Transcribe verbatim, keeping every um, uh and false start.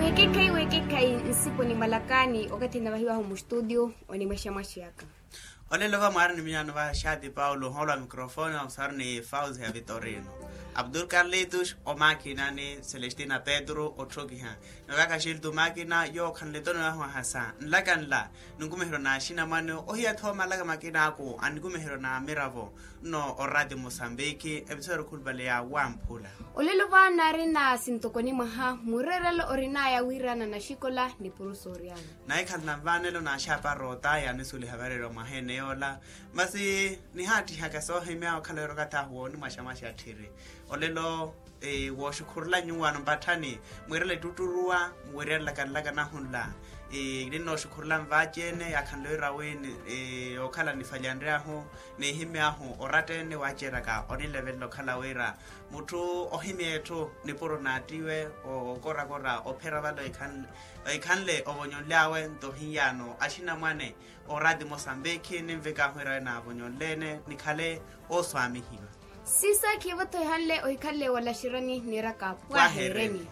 Wekekhayi wekekhayi nsipo ni malakani okathi navahiwahu mustutio onimwexamwaxiyaka. Olelo va mwaari ni miyaano va xaati paulo ohoolo wa mikrofoni wa musaaru ni fauzi ya vitorino, abdul karlitus omakina ni celestina petru otthokiha. Nokaka xiltu makina yookhanle tono yahwahasa nlaka nla, ninkumiheryo na axinamwane ohiya tho malaka makina aku a ninkumiheryo na miravo. Nno orati musambiki episode khulupale ya wamphula. Olelo vaana arina sintokoni mwaha mureerelo orinaya wiirana naxikola ni purusu oryana. Naikhalana nvaanelo na axaapa roota yaanisuliha vareerwa mwaha ene yoola. Masi nihaattihaka soohimya okhala wira okathi ahu woonimwaxamaxa tthiri. Olelo wooxukhurula nyuwaano mpatthani mwiirela ettutturuwa muweryerelaka nlaka nahunla. Ninnooxukhurula nvaaci-ene yaakhanle wira wi yookhala nifalyanryahu nihimy'ahu oratta-ene waaceeryaka onilevelela okhala wira mutthu ohimya etthu nipuro naattiwe okorakora ophera vale ohikhanle ovonyonly'awe nto ohiyaano axinamwane. Orati mosambikhi ninvikaahu wira wi naavonyonle-ene nikhale ooswaamihiwa. Sisaakhi evo-tho ehanle ohikhanle wala xirani niiraka pwahereni.